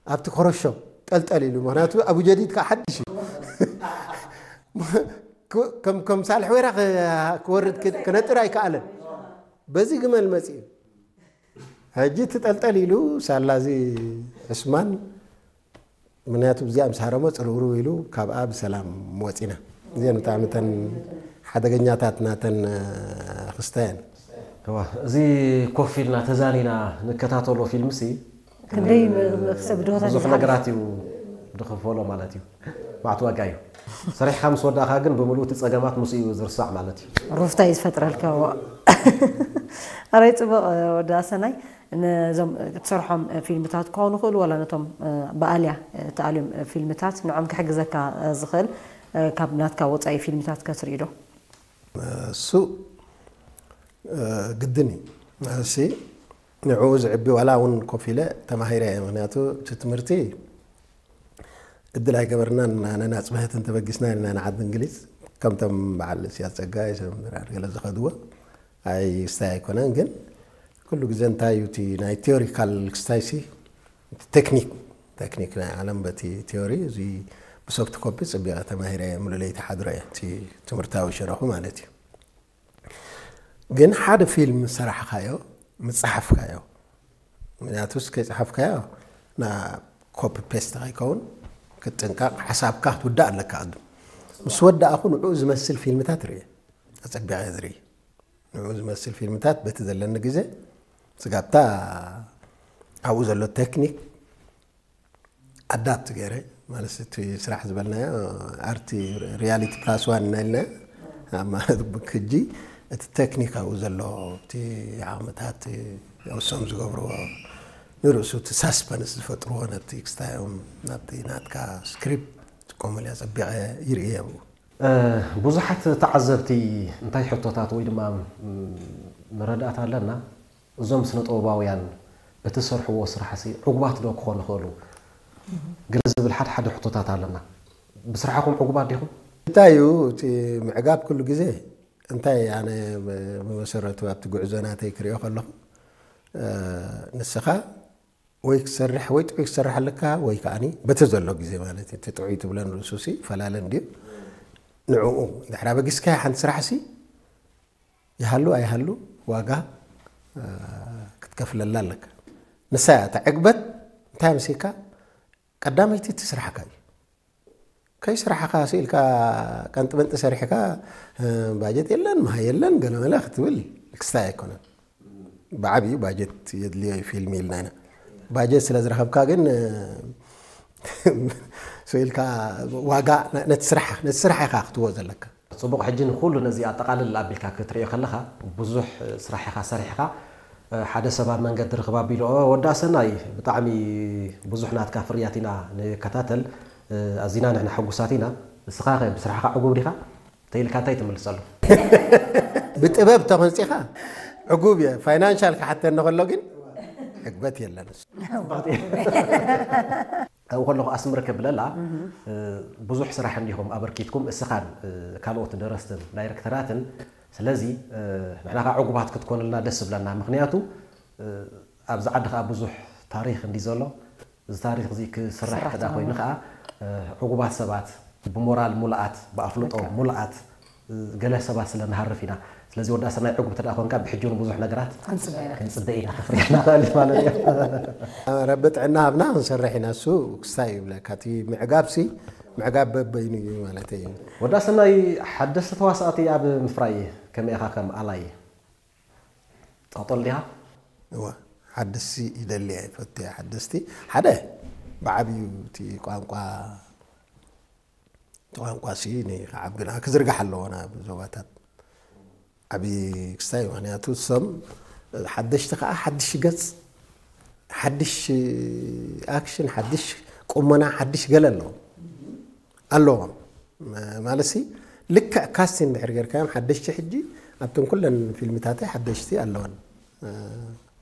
ኣብቲ ኮረሾ ጠልጠል ኢሉ፣ ምክንያቱ ኣቡ ጀዲድ ከዓ ሓድሽ እዩ። ከም ከም ሳልሕ ወይራ ክ- ክወርድ ክ- ክነጥር ኣይከኣለን። በዚ ግመል መፂኡ ሕጂ ትጠልጠል ኢሉ ሳላ እዚ ዕስማን፣ ምክንያቱ ብዚኣ ምስ ሃረሞ ፅርውርው ኢሉ ካብኣ ብሰላም ወፂና። እዚአን ብጣዕሚ ተን ሓደገኛታት ናተን ክስተየን። እዋ፣ እዚ ኮፍ ኢልና ተዛኒና ንከታተሎ ፊልምሲ ክንደይ ም- ም- ሰብ ድሆታት ብዙሕ ይዝሓል። ነገራት እዩ ድኽፈሎ ማለት እዩ። ማዕት ዋጋ እዩ። ሰሪሕካ ምስ ወዳእካ ግን ብምሉእ እቲ ፀገማት ምስ እዩ ዝርሳዕ ማለት እዩ። ሩፍታ እዩ ዝፈጥረልካ። ዋ። ኣራይ ፅቡቕ። ወዲ ኣሰናይ፣ ነዞም ትሰርሖም ፊልምታት ክኾኑ ይኽእሉ፣ ዋላ ነቶም ብኣልያ ተኣልዮም ፊልምታት ንዖም ክሕግዘካ ዝኽእል ካብ ናትካ ወፃኢ ፊልምታት ከትርኢ ዶ? እሱ ግድን እዩ። እሲ ንዕኡ ዝዕቢ ዋላ እውን ኮፍ ኢለ ተማሂረ እየ። ምክንያቱ እቲ ትምህርቲ እድል ኣይገበርናን። ኣነና ፅብሕትን ተበጊስና ኢልና ንዓዲ እንግሊዝ ከምቶም በዓል ስያስ ፀጋይ፣ ሰምራር ገለ ዝኸድዎ ኣይ ስታይ ኣይኮነን። ግን ኩሉ ግዜ እንታይ እዩ እቲ ናይ ቴዎሪካል ክስታይ ሲ ቴክኒክ ቴክኒክ ናይ ዓለም በቲ ቴዎሪ እዚ ብሶፍት ኮፒ ፅቢቐ ተማሂረ እየ። ሙሉ ለይቲ ሓድሮ እየ እቲ ትምህርታዊ ሸረኹ ማለት እዩ። ግን ሓደ ፊልም ሰራሕካዮ ምፅሓፍካዮ ምክንያቱስ ከይፅሓፍካዮ ና ኮፒ ፔስት ከይከውን ክትጥንቀቕ ሓሳብካ ክትውዳእ ኣለካ። ቅድም ምስ ወዳእኹ ንዕኡ ዝመስል ፊልምታት ርእ ኣፀቢቐ ዝርኢ ንኡ ዝመስል ፊልምታት በቲ ዘለኒ ግዜ ስጋብታ ኣብኡ ዘሎ ቴክኒክ ኣዳፕት ገይረ ማለት እቲ ስራሕ ዝበልናዮ ኣርቲ ሪያሊቲ ፕላስ ዋን እናኢልና ማለት ክጂ እቲ ቴክኒክ ኣብኡ ዘሎ እቲ ዓቕምታት ውሶም ዝገብርዎ ንርእሱ እቲ ሳስፐንስ ዝፈጥርዎ ነቲ ክስታዮም ናብቲ ናትካ ስክሪፕት ጥቀመሉ እያ ጸቢቐ ይርእየ ኣብኡ ብዙሓት ተዓዘብቲ እንታይ ሕቶታት ወይ ድማ መረዳእታ ኣለና እዞም ስነ ጥበባውያን እቲ ሰርሕዎ ስራሕ ሲ ዕጉባት ዶ ክኾኑ ይኽእሉ ግለ ዝብል ሓደ ሓደ ሕቶታት ኣለና ብስራሕኹም ዕጉባት ዲኹም እንታይ እዩ እቲ ምዕጋብ ኩሉ ግዜ እንታይ ኣነ ብመሰረቱ ኣብቲ ጉዕዞ ናተይ ክሪኦ ከለኹ ንስኻ ወይ ክሰርሕ ወይ ጥዑይ ክሰርሕ ኣለካ ወይ ከዓኒ በቲ ዘሎ ግዜ ማለት እዩ። እቲ ጥዑይ ትብለን ርእሱ ሲ ፈላለ እንድዩ። ንዕኡ እንድሕር ኣበጊስካያ ሓንቲ ስራሕ ሲ ይሃሉ ኣይሃሉ ዋጋ ክትከፍለላ ኣለካ። ንሳ እያ እታ ዕግበት እንታይ መሲልካ ቀዳመይቲ እቲ ስራሕካ እዩ። ከይስራሕኻ ስኢልካ ቀንጢ መንጢ ሰሪሕካ ባጀት የለን ምሃይ የለን ገለመለ ክትብል ክስታይ ኣይኮነን። ብዓብዩ ባጀት የድልዮ እዩ ፊልም ኢልና ኢና። ባጀት ስለ ዝረኸብካ ግን ስኢልካ ዋጋ ነቲ ስራሕ ነቲ ስራሕ ኢኻ ክትዎ ዘለካ። ፅቡቕ ሕጂ ንኩሉ ነዚ ኣጠቓልል ኣቢልካ ክትሪኦ ከለኻ ብዙሕ ስራሕ ኢኻ ሰሪሕኻ ሓደ ሰብ ኣብ መንገዲ ርኽብ ኣቢሉ ኦ ወዲ ኣሰናይ ብጣዕሚ ብዙሕ ናትካ ፍርያት ኢና ንከታተል ኣዚና ንሕና ሕጉሳት ኢና ንስኻ ኸ ብስራሕኻ ዕጉብ ዲኻ ተይልካ እንታይ ትምልሰሉ ብጥበብ ተኾንፂኻ ዕጉብ እየ ፋይናንሻል ክሓተኒ ከሎ ግን ዕግበት የለን ኣብኡ ከለኹ ኣስምር ከብለላ ብዙሕ ስራሕ እንዲኹም ኣበርኪትኩም እስኻን ካልኦት ደረስትን ዳይረክተራትን ስለዚ ንሕና ከዓ ዕጉባት ክትኮንልና ደስ ዝብለና ምክንያቱ ኣብዚ ዓዲ ከዓ ብዙሕ ታሪክ እንዲ ዘሎ እዚ ታሪክ እዚ ክስራሕ ክዳ ኮይኑ ከዓ ዕጉባት ሰባት ብሞራል ሙሉኣት ብኣፍልጦ ሙሉኣት ገለ ሰባት ስለ ንሃርፍ ኢና ስለዚ ወዲ ኣሰናይ ዕጉብ ተደኣ ኮንካ ብሕጂ እውን ብዙሕ ነገራት ክንፅበ ኢና ከፍርያ ንኽእል ማለት እዩ ረቢ ጥዕና ሃብና ክንሰርሕ ኢና እሱ ክስታይ ይብለካ እቲ ምዕጋብ ሲ ምዕጋብ በበይኑ እዩ ማለት እዩ ወዲ ኣሰናይ ሓደስቲ ተዋሳእቲ ኣብ ምፍራይ ከመይ ኢኻ ከም ኣላይ ጠቕጠል ዲኻ እወ ሓደስቲ ይደሊ እየ ይፈቱ እየ ሓደስቲ ሓደ ብዓብዩ እቲ ቋንቋ እቲ ቋንቋ ሲ ንክዓብግና ክዝርጋሕ ኣለዎ ናብ ዞባታት ዓብዪ ክስታይ ምክንያቱ እሶም ሓደሽቲ ከዓ ሓድሽ ገፅ ሓድሽ ኣክሽን ሓድሽ ቁመና ሓድሽ ገለ ኣለዎም ኣለዎም ማለት ሲ ልክዕ ካስቲን ድሕር ጌርካዮም ሓደሽቲ ሕጂ ኣብተን ኩለን ፊልምታተይ ሓደሽቲ ኣለወን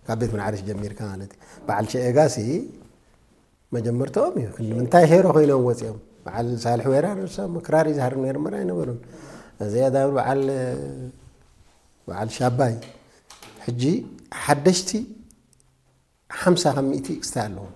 ካብ ቤት ምንዓርሽ ጀሚርካ ማለት እዩ በዓል ሸኤጋ ሲ መጀመርታኦም እዩ ክንዲ ምንታይ ሄሮ ኮይኖም ወፂኦም በዓል ሳልሒ ወይራ ንሶም ክራር ይዝሃር ነይሮም ኣይነበሩን እዚኣ ዳብል በዓል በዓል ሻባይ ሕጂ ሓደሽቲ ሓምሳ ካብ ሚእቲ ክስታይ ኣለዎም